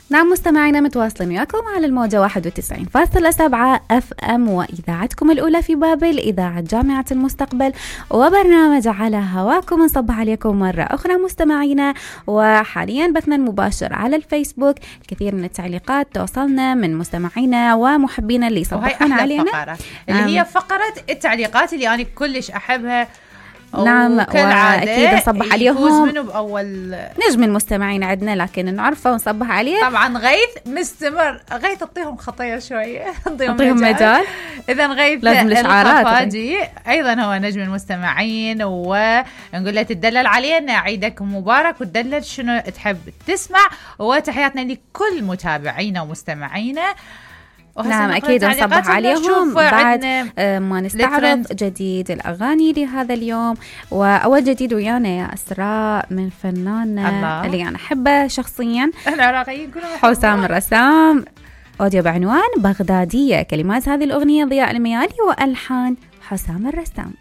نعم مستمعينا متواصلين وياكم على الموجة 91.7 FM وإذاعتكم الأولى في بابل، إذاعة جامعة المستقبل، وبرنامج على هواكم. نصبح عليكم مرة أخرى مستمعينا، وحاليا بثنا المباشر على الفيسبوك. الكثير من التعليقات توصلنا من مستمعينا ومحبينا اللي يصبحون علينا، فقرة اللي هي فقرة التعليقات اللي أنا كلش أحبها. نعم، وأكيد نصبح عليهم. منه بأول نجم المستمعين عندنا لكن نعرفه ونصبح عليه. طبعا غيث مستمر، غيث اعطيهم خطية شوية، اعطيهم مجال. إذا غيث لازم الإشعارات أيضا هو نجم المستمعين، ونقول له تدلل علينا، عيدك مبارك، وتدلل شنو تحب تسمع، وتحياتنا لكل متابعينا ومستمعينا. نعم أكيد نصبح عليهم بعد ما نستعرض جديد الأغاني لهذا اليوم. وأول جديد ويانا يا أسراء من فناننا اللي أنا أحبه شخصيا، حسام الرسام، أوديو بعنوان بغدادية. كلمات هذه الأغنية ضياء الميالي وألحان حسام الرسام.